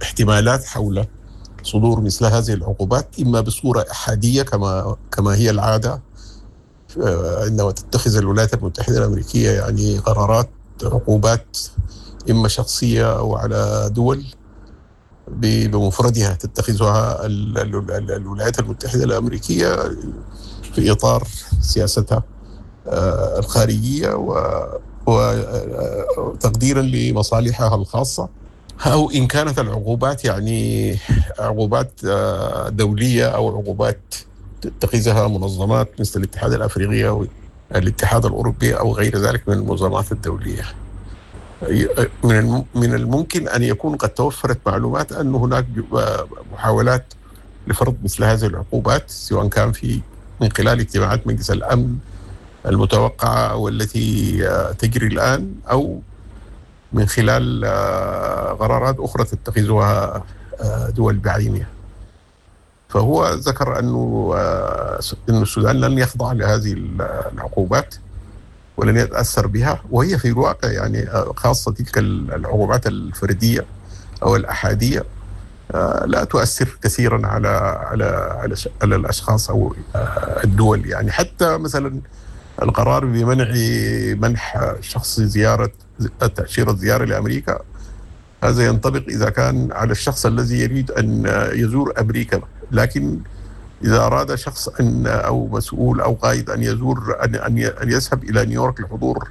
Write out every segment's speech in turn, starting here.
احتمالات حول صدور مثل هذه العقوبات، إما بصورة أحادية كما هي العادة عندما تتخذ الولايات المتحدة الأمريكية يعني قرارات عقوبات إما شخصية أو على دول بمفردها تتخذها الولايات المتحدة الأمريكية في إطار سياستها الخارجية وتقديرا لمصالحها الخاصة، أو إن كانت العقوبات يعني عقوبات دولية أو عقوبات تتخذها منظمات مثل الاتحاد الأفريقي أو الاتحاد الأوروبي أو غير ذلك من المنظمات الدولية. من الممكن أن يكون قد توفرت معلومات أن هناك محاولات لفرض مثل هذه العقوبات، سواء كان من خلال اجتماعات مجلس الأمن المتوقعة والتي تجري الآن، أو من خلال قرارات أخرى تتخذها دول بعينها. فهو ذكر أن السودان لن يخضع لهذه العقوبات ولن يتأثر بها، وهي في الواقع يعني خاصة تلك العقوبات الفردية أو الأحادية لا تؤثر كثيرا على على على على الأشخاص أو الدول. يعني حتى مثلا القرار بمنع منح شخص زيارة تأشيرة زيارة لأمريكا، هذا ينطبق إذا كان على الشخص الذي يريد أن يزور أمريكا، لكن إذا أراد شخص أن أو مسؤول أو قائد أن يزور أن يذهب إلى نيويورك لحضور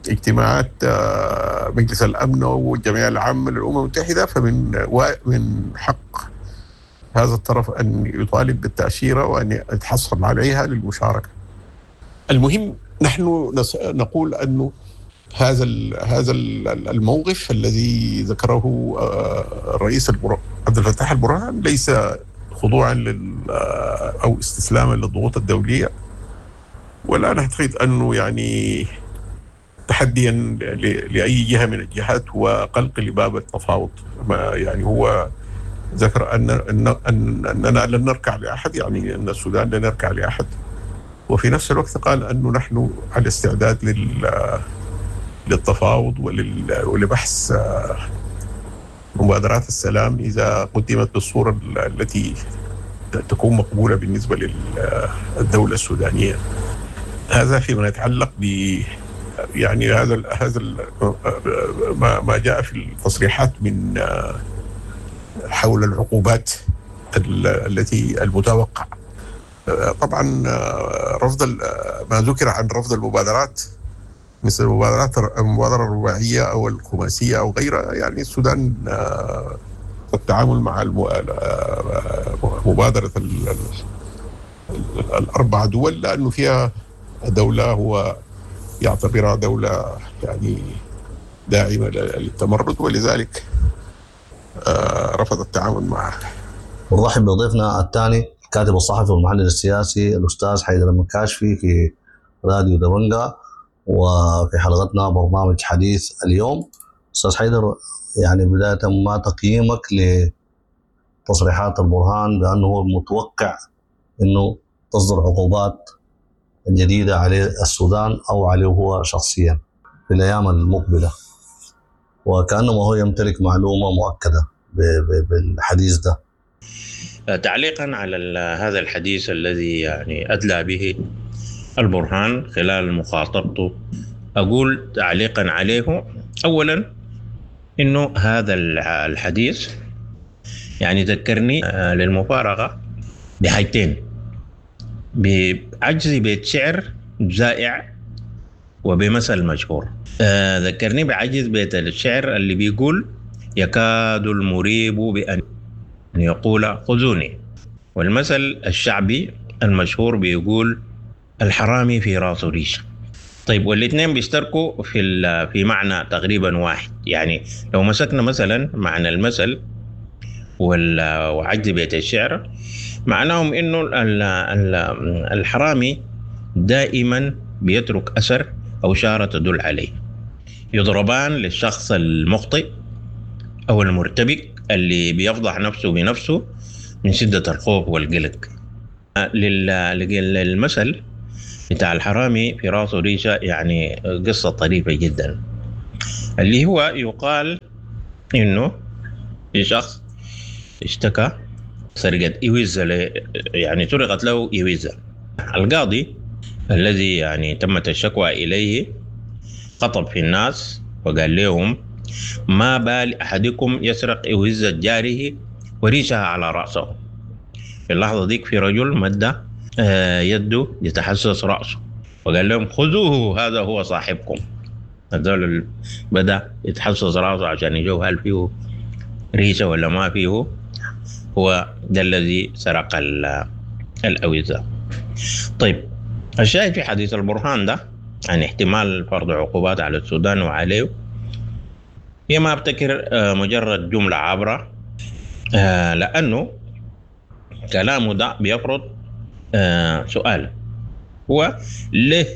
اجتماعات مجلس الأمن والجمعية العامة للأمم المتحدة، فمن من حق هذا الطرف أن يطالب بالتأشيرة وأن يتحصل عليها للمشاركة. المهم نحن نقول أنه هذا الموقف الذي ذكره الرئيس عبد الفتاح البرهان ليس خضوعا او استسلاما للضغوط الدولية، ولا نعتقد انه يعني تحديا لاي جهة من الجهات وقلق لباب التفاوض. يعني هو ذكر ان اننا لن نركع لاحد، يعني ان السودان لن يركع لاحد، وفي نفس الوقت قال انه نحن على استعداد للتفاوض ولبحث مبادرات السلام إذا قدمت بالصورة التي تكون مقبولة بالنسبة للدولة السودانية. هذا فيما يتعلق ب يعني هذا ما جاء في التصريحات من حول العقوبات التي المتوقع. طبعا رفض ما ذكر عن رفض المبادرات مثل المبادرة الرباعية أو الخماسية أو غيرها، يعني السودان التعامل مع مبادرة الأربع دول لأنه فيها دولة هو يعتبرها دولة يعني داعمة للتمرد، ولذلك رفض التعامل معها. ونرحب بضيفنا الثاني الكاتب الصحفي والمحلل السياسي الأستاذ حيدر المكاشفي في راديو دبنجا، وفي حلقتنا برنامج حديث اليوم. أستاذ حيدر، يعني بداية ما تقييمك لتصريحات البرهان بأنه هو متوقع أنه تصدر عقوبات جديدة على السودان أو عليه هو شخصيا في الأيام المقبلة، وكأنه هو يمتلك معلومة مؤكدة بالحديث ده؟ تعليقا على هذا الحديث الذي يعني أدلى به البرهان خلال مخاطبته، أقول تعليقا عليه أولا إنه هذا الحديث يعني ذكرني للمفارقة بحاجتين: بعجز بيت شعر زائع وبمثل مشهور. ذكرني بعجز بيت الشعر اللي بيقول: يكاد المريب بأن يقول خذوني، والمثل الشعبي المشهور بيقول: الحرامي في راسه ريشه. طيب، والاثنين بيشتركوا في معنى تقريبا واحد. يعني لو مسكنا مثلا معنى المثل وعجز بيت الشعر، معناهم انه الحرامي دائما بيترك اثر او شارة تدل عليه. يضربان للشخص المخطئ او المرتبك اللي بيفضح نفسه بنفسه من شده الخوف والقلق. للمثل بتاع الحرامي في راسه ريشة يعني قصة طريفة جدا، اللي هو يقال إنه في شخص اشتكى سرقة إوزة، يعني سرقت له إوزة. القاضي الذي يعني تمت الشكوى إليه خطب في الناس وقال لهم: ما بال أحدكم يسرق إوزة جاره وريشها على رأسه. في اللحظة ديك في رجل مد يده يتحسس رأسه وقال لهم: خذوه، هذا هو صاحبكم. هذول بدأ يتحسس رأسه عشان يشوف هل فيه ريشة ولا ما فيه، هو ده الذي سرق الأوزة. طيب، الشاهد في حديث البرهان ده عن احتمال فرض عقوبات على السودان وعليه، هي ما ابتكر مجرد جملة عابرة، لأنه كلامه ده بيفرض سؤال: هو ليه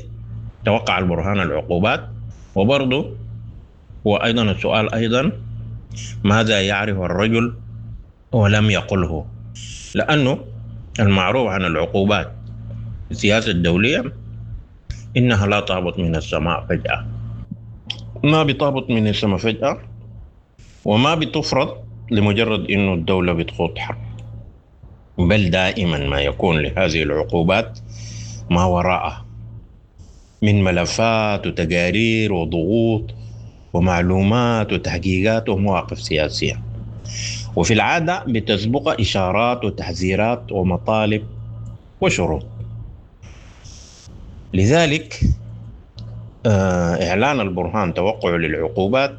توقع البرهان العقوبات؟ وبرضه هو أيضا السؤال أيضا: ماذا يعرف الرجل ولم يقله؟ لأنه المعروف عن العقوبات السياسة الدولية إنها لا تهبط من السماء فجأة، ما بتهبط من السماء فجأة، وما بتفرض لمجرد إنه الدولة بتخوض حرب، بل دائما ما يكون لهذه العقوبات ما وراءها من ملفات وتقارير وضغوط ومعلومات وتحقيقات ومواقف سياسية، وفي العادة بتسبق إشارات وتحذيرات ومطالب وشروط. لذلك إعلان البرهان توقعه للعقوبات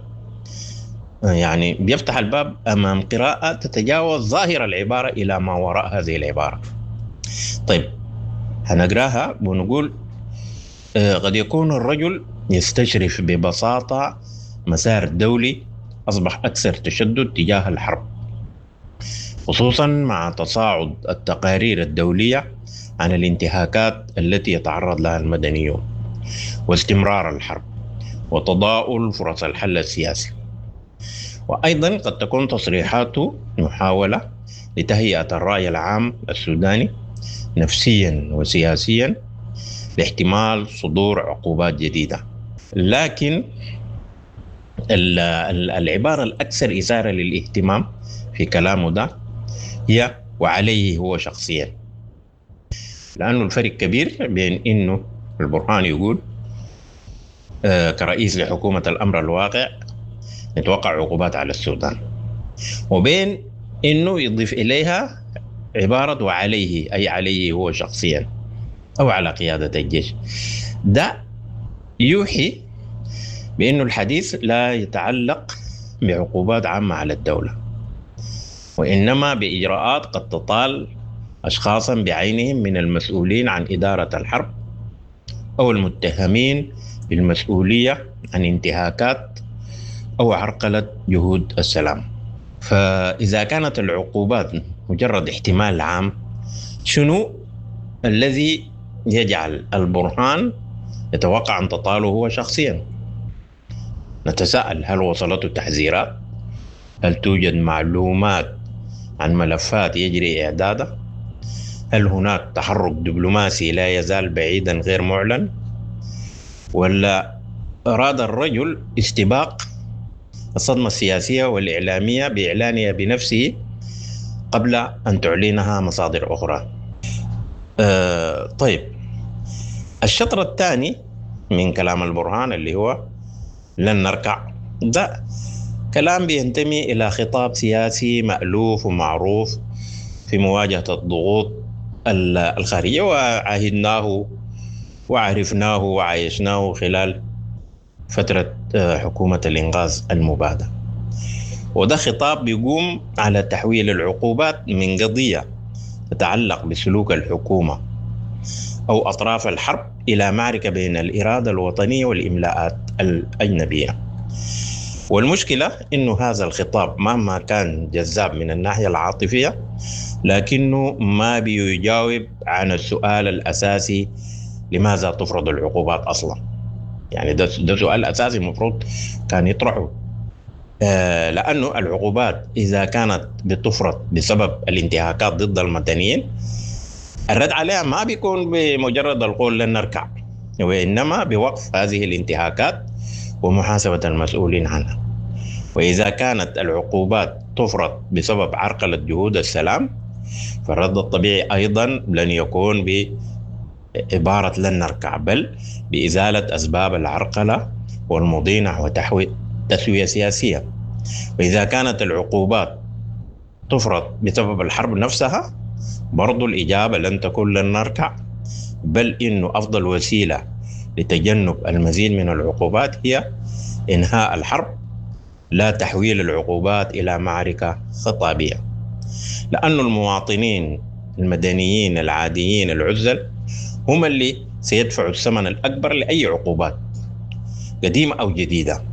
يعني بيفتح الباب أمام قراءة تتجاوز ظاهر العبارة إلى ما وراء هذه العبارة. طيب، هنقراها ونقول قد يكون الرجل يستشرف ببساطة مسار دولي أصبح أكثر تشدد تجاه الحرب، خصوصا مع تصاعد التقارير الدولية عن الانتهاكات التي يتعرض لها المدنيون واستمرار الحرب وتضاؤل فرص الحل السياسي. وأيضا قد تكون تصريحاته محاولة لتهيئة الرأي العام السوداني نفسيا وسياسيا لاحتمال صدور عقوبات جديدة. لكن العبارة الأكثر إثارة للاهتمام في كلامه ده هي وعليه هو شخصيا، لأنه الفرق كبير بين إنه البرهان يقول كرئيس لحكومة الأمر الواقع نتوقع عقوبات على السودان، وبين إنه يضيف إليها عبارة وعليه، أي عليه هو شخصيا أو على قيادة الجيش. ده يوحي بأنه الحديث لا يتعلق بعقوبات عامة على الدولة، وإنما بإجراءات قد تطال أشخاصا بعينهم من المسؤولين عن إدارة الحرب أو المتهمين بالمسؤولية عن انتهاكات أو عرقلة جهود السلام. فإذا كانت العقوبات مجرد احتمال عام، شنو الذي يجعل البرهان يتوقع أن تطاله هو شخصيا؟ نتساءل: هل وصلته تحذيرات؟ هل توجد معلومات عن ملفات يجري إعدادها؟ هل هناك تحرك دبلوماسي لا يزال بعيدا غير معلن؟ ولا أراد الرجل استباق الصدمة السياسية والإعلامية بإعلانها بنفسه قبل أن تعلنها مصادر أخرى؟ طيب، الشطر الثاني من كلام البرهان اللي هو لن نركع، ده كلام بينتمي إلى خطاب سياسي مألوف ومعروف في مواجهة الضغوط الخارجية، وعهدناه وعرفناه وعايشناه خلال فترة حكومة الإنقاذ المبادة. وده خطاب بيقوم على تحويل العقوبات من قضية تتعلق بسلوك الحكومة أو أطراف الحرب إلى معركة بين الإرادة الوطنية والإملاءات الأجنبية. والمشكلة إنه هذا الخطاب مهما كان جذاب من الناحية العاطفية، لكنه ما بيجاوب عن السؤال الأساسي: لماذا تفرض العقوبات أصلا؟ يعني ده سؤال أساسي المفروض كان يطرحه، لأنه العقوبات إذا كانت بتفرض بسبب الانتهاكات ضد المدنيين، الرد عليها ما بيكون بمجرد القول لن نركع، وإنما بوقف هذه الانتهاكات ومحاسبة المسؤولين عنها. وإذا كانت العقوبات تفرض بسبب عرقلة جهود السلام، فالرد الطبيعي أيضا لن يكون بعبارة لن نركع، بل بإزالة أسباب العرقلة والمضي نحو تسوية سياسية. وإذا كانت العقوبات تفرض بسبب الحرب نفسها، برضو الإجابة لن تكون لن نركع، بل إنه أفضل وسيلة لتجنب المزيد من العقوبات هي إنهاء الحرب، لا تحويل العقوبات إلى معركة خطابية. لأن المواطنين المدنيين العاديين العزل هم اللي سيدفعوا الثمن الأكبر لأي عقوبات قديمة أو جديدة،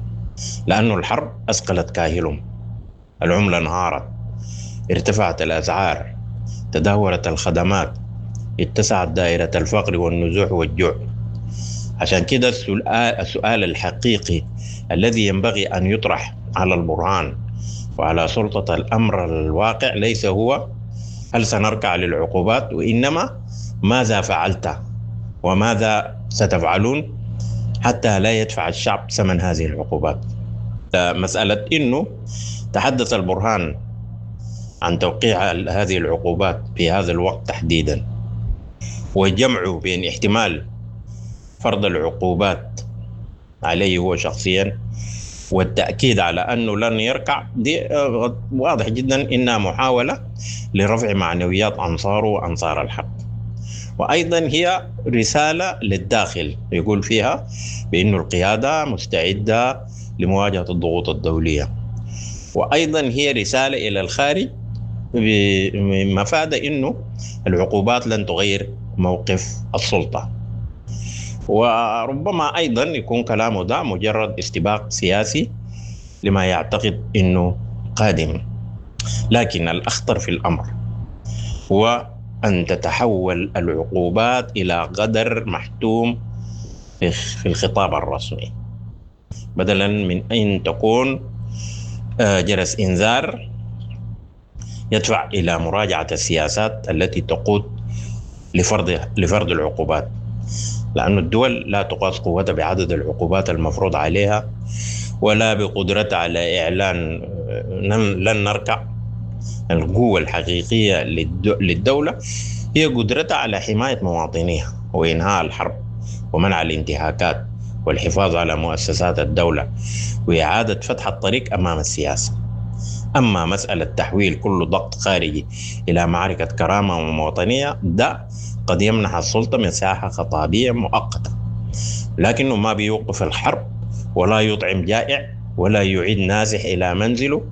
لأن الحرب أثقلت كاهلهم، العملة انهارت، ارتفعت الأسعار، تدهورت الخدمات، اتسعت دائرة الفقر والنزوح والجوع. عشان كده السؤال الحقيقي الذي ينبغي أن يطرح على البرهان وعلى سلطة الأمر الواقع ليس هو هل سنركع للعقوبات، وإنما ماذا فعلت وماذا ستفعلون حتى لا يدفع الشعب ثمن هذه العقوبات. مسألة إنه تحدث البرهان عن توقيع هذه العقوبات في هذا الوقت تحديدا، وجمعه بين احتمال فرض العقوبات عليه هو شخصيا والتأكيد على أنه لن يركع، دي واضح جدا إنها محاولة لرفع معنويات أنصاره وأنصار الحق. وأيضا هي رسالة للداخل يقول فيها بأن القيادة مستعدة لمواجهة الضغوط الدولية، وأيضا هي رسالة إلى الخارج بمفاد أنه العقوبات لن تغير موقف السلطة. وربما أيضا يكون كلامه ده مجرد استباق سياسي لما يعتقد أنه قادم. لكن الأخطر في الأمر هو أن تتحول العقوبات إلى قدر محتوم في الخطاب الرسمي، بدلا من أن تكون جرس إنذار يدفع إلى مراجعة السياسات التي تقود لفرض العقوبات، لأن الدول لا تقاس قوتها بعدد العقوبات المفروض عليها ولا بقدرتها على إعلان لن نركع. القوة الحقيقية للدولة هي قدرتها على حماية مواطنيها وإنهاء الحرب ومنع الانتهاكات والحفاظ على مؤسسات الدولة وإعادة فتح الطريق أمام السياسة. أما مسألة تحويل كل ضغط خارجي إلى معركة كرامة ومواطنية، ده قد يمنح السلطة مساحة خطابية مؤقتة، لكنه ما بيوقف الحرب ولا يطعم جائع ولا يعيد نازح إلى منزله.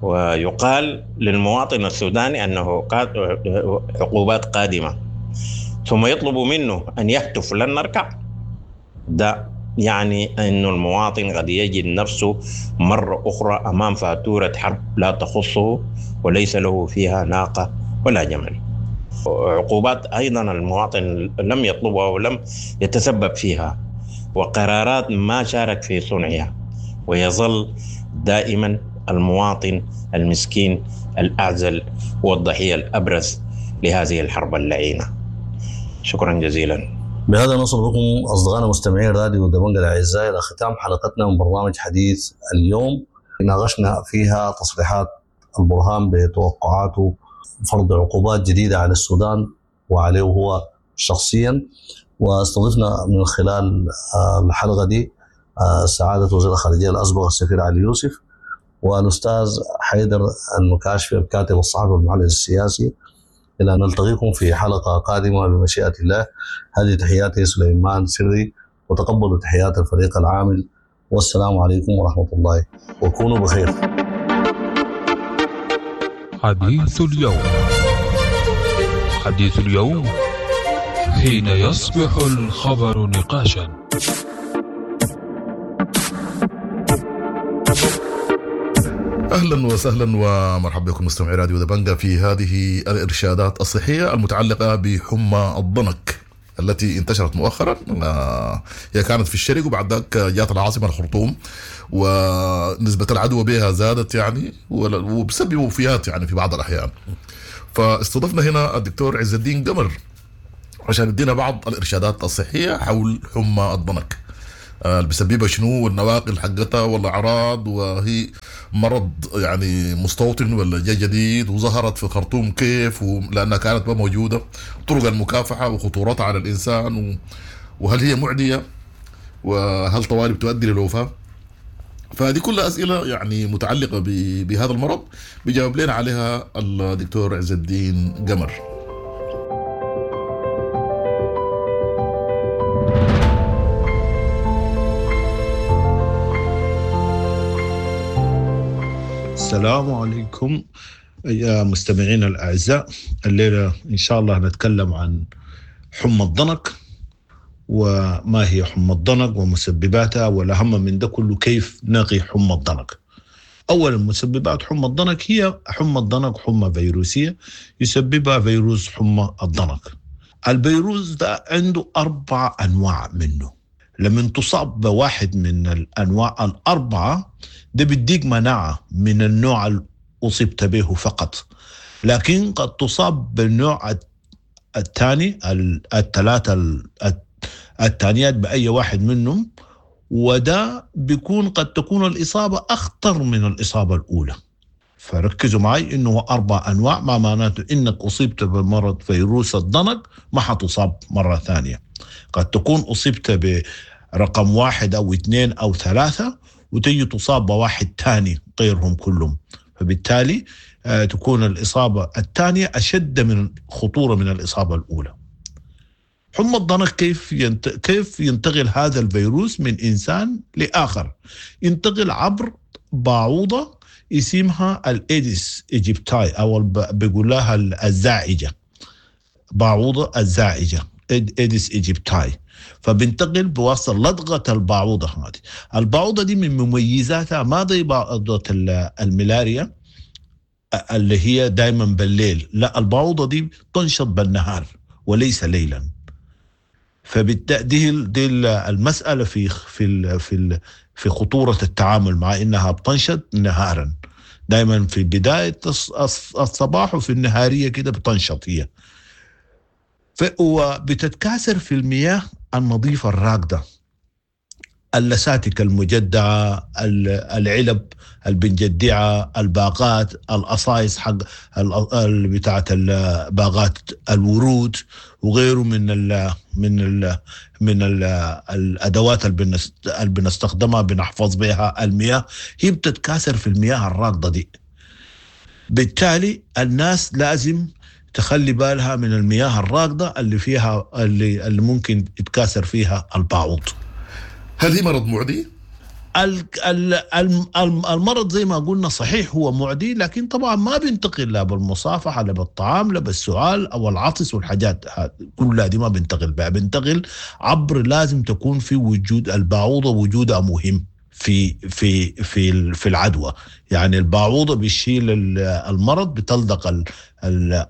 ويقال للمواطن السوداني أنه عقوبات قادمة، ثم يطلب منه أن يهتف لن نركع. ده يعني أن المواطن قد يجد نفسه مرة أخرى أمام فاتورة حرب لا تخصه وليس له فيها ناقة ولا جمل. عقوبات أيضا المواطن لم يطلبها ولم يتسبب فيها، وقرارات ما شارك في صنعها، ويظل دائما المواطن المسكين الأعزل هو الضحية الأبرز لهذه الحرب اللعينة. شكرا جزيلا. بهذا نصل بكم أصدقائنا مستمعين راديو دبنجة الأعزاء إلى ختام حلقتنا من برنامج حديث اليوم، ناقشنا فيها تصريحات البرهان بتوقعاته فرض عقوبات جديدة على السودان وعليه هو شخصيا، واستضفنا من خلال الحلقة دي سعادة وزير الخارجية الأسبق السفير علي يوسف، والأستاذ حيدر المكاشفي الكاتب الصحفي والمعلن السياسي. إلى أن نلتقيكم في حلقة قادمة بمشيئة الله. هذه تحياتي سليمان سري، وتقبلوا تحيات الفريق العامل، والسلام عليكم ورحمة الله، وكونوا بخير. حديث اليوم، حديث اليوم حين يصبح الخبر نقاشا. اهلا وسهلا ومرحبا بكم مستمعي راديو دبنجا في هذه الارشادات الصحية المتعلقة بحمى الضنك التي انتشرت مؤخرا. هي كانت في الشرق وبعد ذاك جات العاصمة الخرطوم، ونسبه العدوى بها زادت يعني وبسبب وفيات يعني في بعض الاحيان. فاستضفنا هنا الدكتور عز الدين قمر عشان يدينا بعض الارشادات الصحية حول حمى الضنك. اللي بيسببها شنو، والنواقل حقتها والاعراض، وهي مرض يعني مستوطن ولا جا جديد، وظهرت في الخرطوم كيف لانها كانت ما موجودة، طرق المكافحه وخطورتها على الانسان، وهل هي معدية، وهل طوالي بتؤدي للوفاه. فهذه كلها اسئلة يعني متعلقه بهذا المرض بيجاوب لنا عليها الدكتور عز الدين قمر. السلام عليكم يا مستمعينا الأعزاء. الليلة إن شاء الله نتكلم عن حمى الضنك، وما هي حمى الضنك ومسبباتها، والأهم من ده كله كيف نقي حمى الضنك. أولا، مسببات حمى الضنك هي حمى الضنك حمى فيروسية يسببها فيروس حمى الضنك. الفيروس ده عنده 4 أنواع منه. لما تصاب بواحد من الأنواع 4 ده بيديك مناعة من النوع اللي أصبت به فقط، لكن قد تصاب بالنوع الثاني، الثلاثة الثانيات بأي واحد منهم، وده بيكون قد تكون الإصابة أخطر من الإصابة الأولى. فركزوا معي إنه 4 أنواع، ما معناته إنك أصبت بمرض فيروس الضنك ما حتصاب مرة ثانية. قد تكون أصبت برقم 1 أو 2 أو 3 وتجي تصاب بواحد ثاني غيرهم كلهم، فبالتالي تكون الإصابة الثانية أشد من خطورة من الإصابة الأولى. حمى الضنك كيف ينتقل هذا الفيروس من إنسان لآخر؟ ينتقل عبر بعوضة اسمها ال Aedes aegypti، أو بيقول لها الزاعجة، بعوضة الزاعجة Aedes aegypti. فبنتقل بواسطة لدغة البعوضة هذه. البعوضة دي من مميزاتها ما زي بعوضة الملاريا اللي هي دايما بالليل، لا، البعوضة دي تنشط بالنهار وليس ليلا. فبالتالي دي المسألة في في في في خطورة التعامل مع إنها بتنشط نهارا، دايما في بداية الصباح وفي النهارية كده بتنشط هي. وبتتكاثر في المياه النظيفة الراكدة، اللساتك المجدعة، العلب البنجدعة، الباقات، القصايص حق بتاعة باغات الورود وغيره من ال من ال من ال الأدوات اللي بنستخدمها بنحفظ بها المياه، هي بتتكاثر في المياه الراكدة دي. بالتالي الناس لازم تخلي بالها من المياه الراكدة اللي فيها اللي ممكن يتكاثر فيها البعوض. هل هي مرض معدي؟ المرض زي ما قلنا صحيح هو معدي، لكن طبعا ما بينتقل لا بالمصافحة لا بالطعام لا بالسؤال أو العطس والحاجات كلها دي ما بينتقل بها. بينتقل عبر، لازم تكون في وجود البعوضة، وجودها مهم في في في في العدوى. يعني البعوضة بتشيل المرض، بتلدق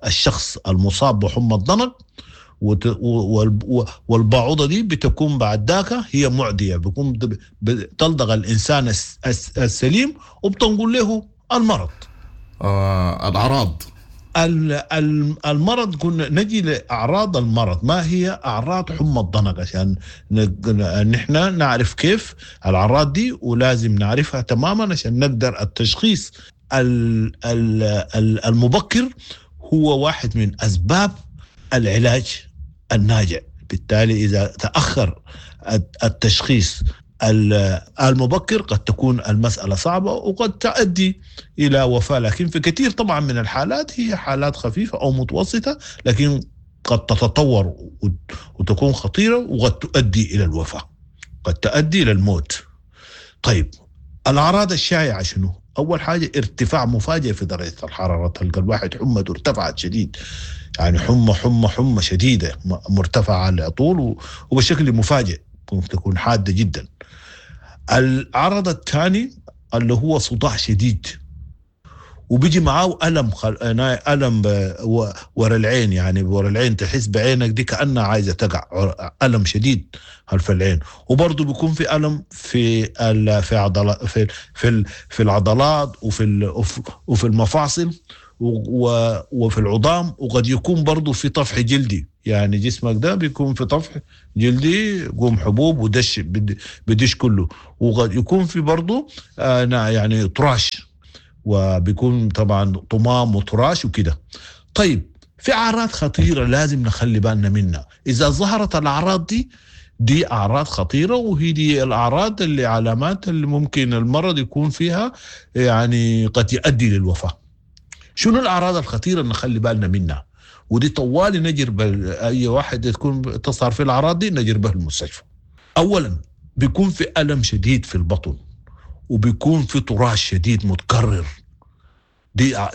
الشخص المصاب بحمى الضنك، والبعوضة دي بتكون بعد ذاك هي معدية، بيكون بتلدغ الإنسان السليم وبتنقل له المرض. الأعراض المرض، كنا نجي لأعراض المرض. ما هي أعراض حمى الضنك عشان نحن نعرف كيف الأعراض دي، ولازم نعرفها تماما عشان نقدر التشخيص المبكر هو واحد من أسباب العلاج الناجع. بالتالي إذا تأخر التشخيص المبكر قد تكون المسألة صعبة وقد تؤدي إلى وفاة، لكن في كثير طبعا من الحالات هي حالات خفيفة أو متوسطة، لكن قد تتطور وتكون خطيرة وقد تؤدي إلى الوفاة، قد تؤدي إلى الموت. طيب الأعراض الشائعة شنو؟ أول حاجة ارتفاع مفاجئ في درجة الحرارة، تلقى الواحد حمته ارتفعت شديد، يعني حمى حمى حمى شديدة مرتفعة على طول وبشكل مفاجئ، ممكن تكون حادة جدا. العرض الثاني اللي هو صداع شديد، وبيجي معاه ألم ألم ورا العين، يعني ورا العين تحس بعينك دي كأنها عايزة تقع، ألم شديد خلف العين. وبرضه بيكون في ألم في في عضلات، في في في العضلات وفي المفاصل وفي العظام، وقد يكون برضه في طفح جلدي، يعني جسمك ده بيكون في طفح جلدي، قوم حبوب ودش بدش كله، وقد يكون في برضه يعني طراش، وبيكون طبعا طمام وطراش وكده. طيب في أعراض خطيرة لازم نخلي بالنا منها. إذا ظهرت الأعراض دي أعراض خطيرة، وهي دي الأعراض اللي علامات اللي ممكن المرض يكون فيها يعني قد يؤدي للوفاة. شنو الأعراض الخطيرة اللي نخلي بالنا منها؟ ودي طوالي نجرب أي واحد تكون تظهر في الأعراض دي نجربه به المستشفى. أولا بيكون في ألم شديد في البطن، وبيكون في طراش شديد متكرر.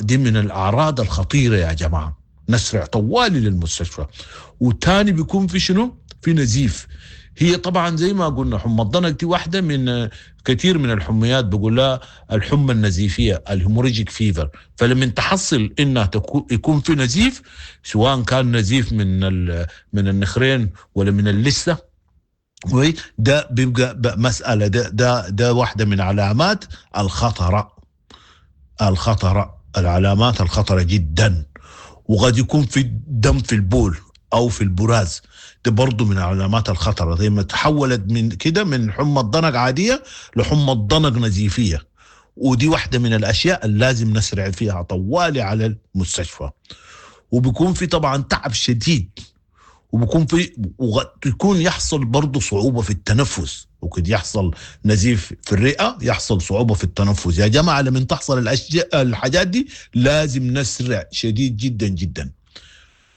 دي من الأعراض الخطيرة يا جماعة، نسرع طوالي للمستشفى. وتاني بيكون في شنو؟ في نزيف. هي طبعا زي ما قلنا حمى الضنك دي واحدة من كثير من الحميات، بقول لها الحمى النزيفية ال hemorrhagic fever. فلما تحصل انها يكون في نزيف، سواء كان نزيف من النخرين ولا من اللثة، ده بيبقى مسألة، ده واحدة من علامات الخطرة، العلامات الخطرة جدا. وقد يكون في دم في البول أو في البراز، ده برضو من علامات الخطرة. زي ما تحولت من كده من حمى الضنك عادية لحمى الضنك نزيفية، ودي واحدة من الأشياء اللي لازم نسرع فيها طوالي على المستشفى. وبيكون في طبعا تعب شديد، وبيكون في ويكون يحصل برضو صعوبة في التنفس، وقد يحصل نزيف في الرئة، يحصل صعوبة في التنفس. يا جماعة لما تحصل الحاجات دي لازم نسرع شديد جدا جدا.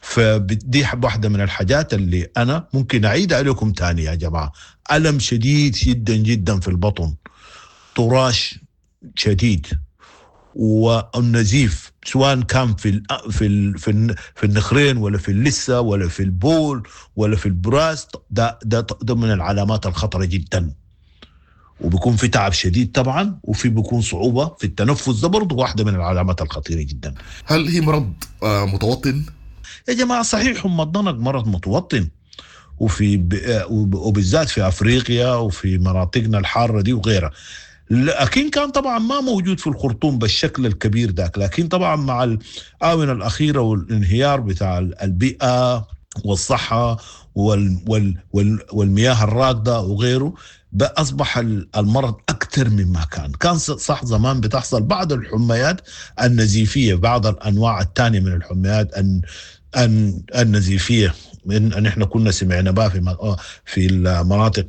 فدي واحدة من الحاجات اللي أنا ممكن أعيد عليكم تاني يا جماعة. ألم شديد جدا جدا في البطن، طراش شديد، والنزيف سواء كان في في في في النخرين ولا في اللثة ولا في البول ولا في البراز، ده من العلامات الخطرة جدا. وبيكون في تعب شديد طبعا، وفي بيكون صعوبة في التنفس، ده برضه واحدة من العلامات الخطيرة جدا. هل هي مرض متوطن؟ يا جماعة صحيح حمى الضنك مرض متوطن، وفي وبالذات في أفريقيا وفي مناطقنا الحارة دي وغيرها، لكن كان طبعا ما موجود في الخرطوم بالشكل الكبير ذاك. لكن طبعا مع الآونة الأخيرة والانهيار بتاع البيئة والصحة والمياه الراكدة وغيره، أصبح المرض أكثر مما كان. كان صح زمان بتحصل بعض الحميات النزيفية، بعض الأنواع الثانية من الحميات النزيفية، من نحن كنا سمعنا بها في المناطق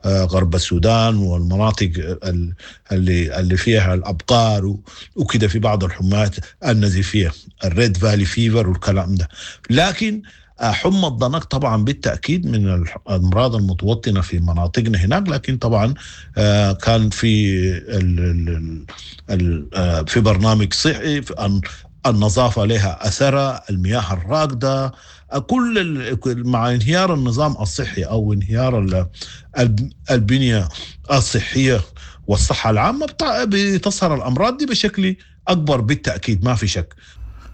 غرب السودان والمناطق اللي فيها الأبقار وكده، في بعض الحميات النزيفية ال Red Valley fever والكلام ده. لكن حمى الضنك طبعا بالتأكيد من الأمراض المتوطنة في مناطقنا هناك، لكن طبعا كان في في برنامج صحي، النظافة لها أثرها، المياه الراكدة، كل مع انهيار النظام الصحي أو انهيار البنية الصحية والصحة العامة بتظهر الأمراض دي بشكل أكبر بالتأكيد، ما في شك.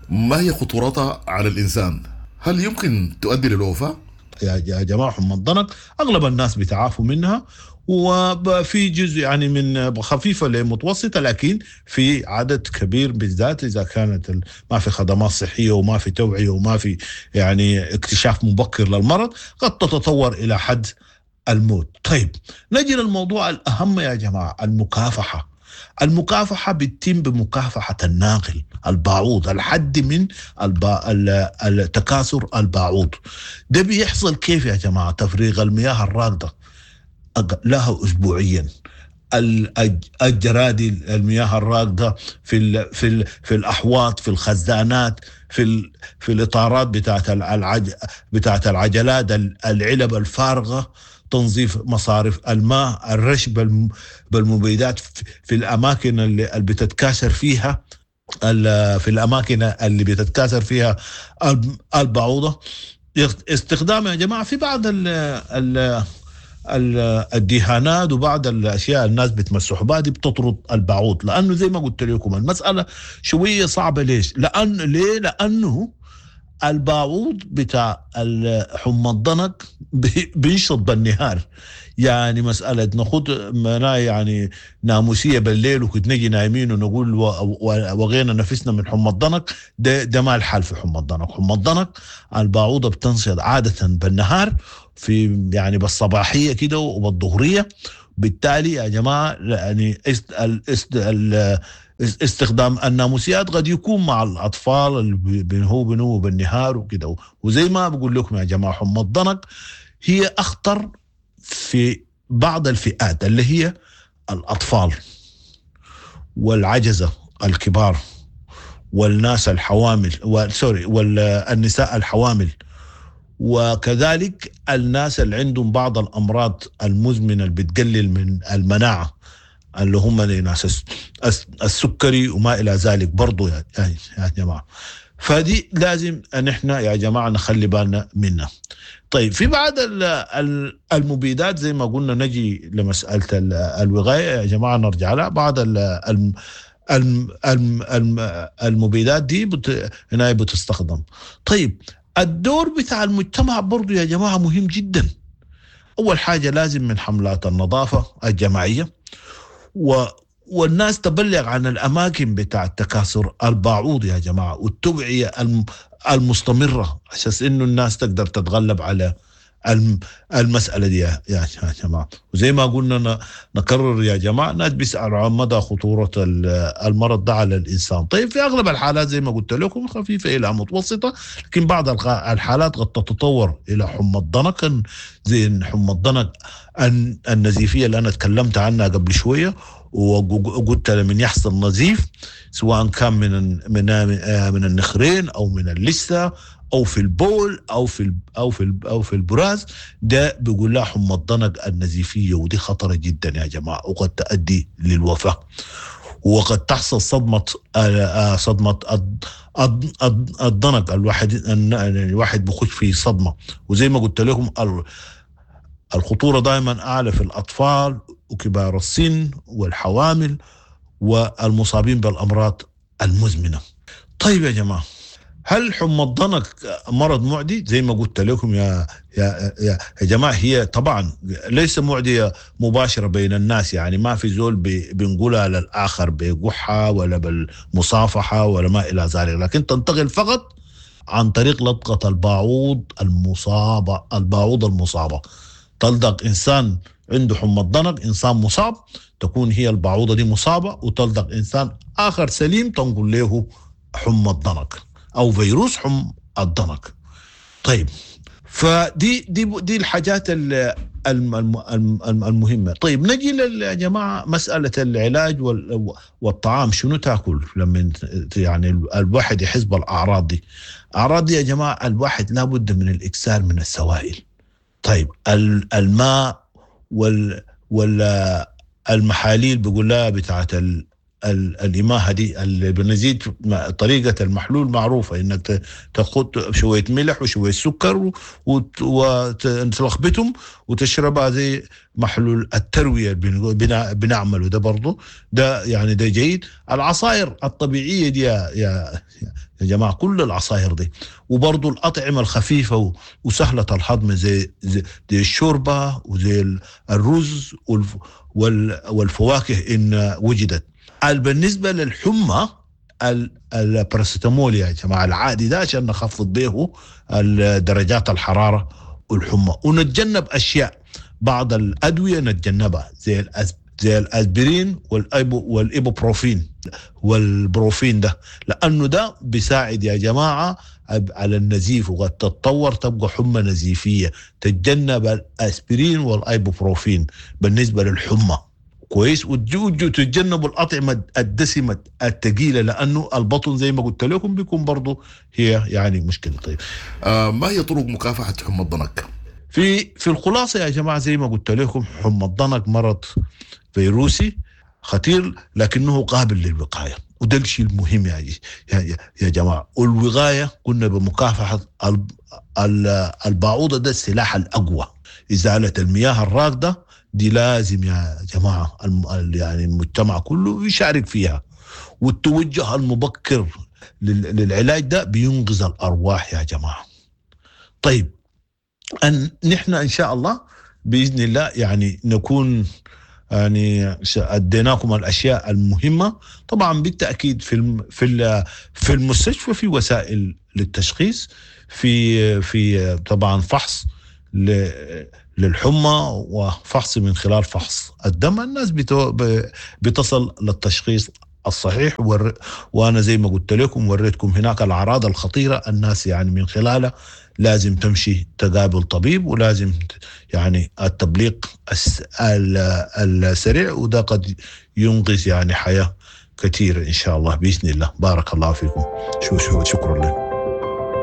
ما هي خطورتها على الإنسان؟ هل يمكن تؤدي للوفاة؟ يا جماعة حمى الضنك أغلب الناس بيتعافوا منها، وفي جزء يعني من خفيفة لمتوسطة، لكن في عدد كبير بالذات إذا كانت ما في خدمات صحية وما في توعية وما في يعني اكتشاف مبكر للمرض، قد تتطور إلى حد الموت. طيب نجي للموضوع الأهم يا جماعة، المكافحة. المكافحة بتتم بمكافحة الناقل الباعوض، الحد من التكاثر الباعوض. ده بيحصل كيف يا جماعة؟ تفريغ المياه الراكدة لها أسبوعيا، الجرادي المياه الراكدة في في في الأحواض، في الخزانات، في في الإطارات بتاعت العجلات، العلب الفارغة، تنظيف مصارف الماء، الرش بالمبيدات في الأماكن اللي بتتكاثر فيها، في الأماكن اللي بتتكاثر فيها البعوضة. استخدام يا جماعة في بعض الدهانات وبعض الأشياء الناس بتمسح بها دي بتطرد البعوض، لأنه زي ما قلت لكم المسألة شوية صعبة. ليش؟ لأنه الباعوض بتاع حمى الضنك بينشط بالنهار، يعني مسألة نخط يعني ناموسية بالليل وكنت نجي نايمين ونقول وغينا نفسنا من حمى الضنك، ده ما الحال في حمى الضنك. حمى الضنك الباعوضة بتنشط عادة بالنهار، في يعني بالصباحية كده وبالظهرية. بالتالي يا جماعة يعني استخدام الناموسيات قد يكون مع الأطفال اللي بنهو بالنهار وكده. وزي ما بقول لكم يا جماعة، حمى الضنك هي أخطر في بعض الفئات اللي هي الأطفال والعجزة الكبار والناس الحوامل، والنساء الحوامل، وكذلك الناس اللي عندهم بعض الأمراض المزمنة اللي بتقلل من المناعة، اللي هم ناس السكري وما إلى ذلك برضو يا جماعة. فدي لازم أن احنا يا جماعة نخلي بالنا منها. طيب في بعض المبيدات زي ما قلنا، نجي لمسألة الوقاية يا جماعة، نرجع لها. بعض المبيدات دي هنا بتستخدم. طيب الدور بتاع المجتمع برضو يا جماعة مهم جدا. أول حاجة لازم من حملات النظافة الجماعية، والناس تبلغ عن الأماكن بتاع التكاثر الباعوض يا جماعة، والتوعية المستمرة عشان إنه الناس تقدر تتغلب على المسألة دي يا جماعة. وزي ما قلنا نكرر يا جماعة، الناس بيسألوا عن مدى خطورة المرض ده على الإنسان. طيب في أغلب الحالات زي ما قلت لكم خفيفة إلى متوسطة، لكن بعض الحالات قد تتطور إلى حمى الضنك، زي حمى الضنك النزيفية اللي أنا تكلمت عنها قبل شوية، وقلت لمن يحصل نزيف سواء كان من من من النخرين أو من اللثة أو في البول أو في أو في أو في البراز، ده بيقول لها حمى الضنك النزيفية، ودي خطرة جدا يا جماعة وقد تؤدي للوفاة، وقد تحصل صدمة الضنك. الواحد بخش في صدمة، وزي ما قلت لكم الخطورة دائما أعلى في الأطفال وكبار السن والحوامل والمصابين بالأمراض المزمنة. طيب يا جماعة، هل حمى الضنك مرض معدي؟ زي ما قلت لكم يا يا يا جماعة، هي طبعا ليس معدية مباشرة بين الناس، يعني ما في زول بنقولها للآخر بقحة ولا بالمصافحة ولا ما إلى ذلك، لكن تنتقل فقط عن طريق لدغة الباعوض المصابة. الباعوض المصابة تلدغ إنسان عنده حمى الضنك، إنسان مصاب، تكون هي الباعوضة دي مصابة، وتلدغ إنسان آخر سليم تنقل له حمى الضنك أو فيروس حمى الضنك. طيب فدي دي دي الحاجات المهمة. طيب نجي يا جماعة مسألة العلاج والطعام، شنو تاكل لما يعني الواحد يحس بالأعراض دي؟ أعراض دي يا جماعة الواحد لابد من الإكثار من السوائل. طيب الماء والمحاليل بيقول لها بتاعت الإماهة دي اللي بنزيد، طريقة المحلول معروفة، إنك تاخد شوية ملح وشوية سكر وتلخبطهم وتشربها زي محلول التروية بنعمله ده برضو، ده يعني ده جيد. العصائر الطبيعية دي يا جماعة، كل العصائر دي، وبرضو الأطعمة الخفيفة وسهلة الهضم زي الشوربة وزي الرز والفواكه إن وجدت. بالنسبة للحمى الباراسيتامول يا جماعة العادي ده عشان نخفض به درجات الحرارة والحمى، ونتجنب أشياء، بعض الأدوية نتجنبها زي الأسبرين والإيبوبروفين والبروفين ده، لأنه ده بيساعد يا جماعة على النزيف، وقد تتطور تبقى حمى نزيفية. تتجنب الأسبرين والإيبوبروفين بالنسبة للحمى كويس، وتتجنبوا الأطعمة الدسمة الثقيلة، لأنه البطن زي ما قلت لكم بيكون برضو هي يعني مشكلة. طيب ما هي طرق مكافحة حمى الضنك؟ في الخلاصة يا جماعة زي ما قلت لكم، حمى الضنك مرض فيروسي خطير لكنه قابل للوقاية، وده الشيء المهم يا جماعة. والوقاية قلنا بمكافحة البعوضة، ده السلاح الأقوى. إزالة المياه الراكدة دي لازم يا جماعة يعني المجتمع كله يشارك فيها، والتوجه المبكر للعلاج ده بينقذ الارواح يا جماعة. طيب، أن نحن ان شاء الله باذن الله يعني نكون يعني اديناكم الاشياء المهمة. طبعا بالتاكيد في المستشفى في وسائل للتشخيص، في طبعا فحص للحمى وفحص من خلال فحص الدم. الناس بتصل للتشخيص الصحيح، وانا زي ما قلت لكم وريتكم هناك الاعراض الخطيرة، الناس يعني من خلالها لازم تمشي تقابل طبيب، ولازم يعني التبليغ السريع، وده قد ينقذ يعني حياة كثيرة ان شاء الله باذن الله. بارك الله فيكم، شو شو شكرا لكم.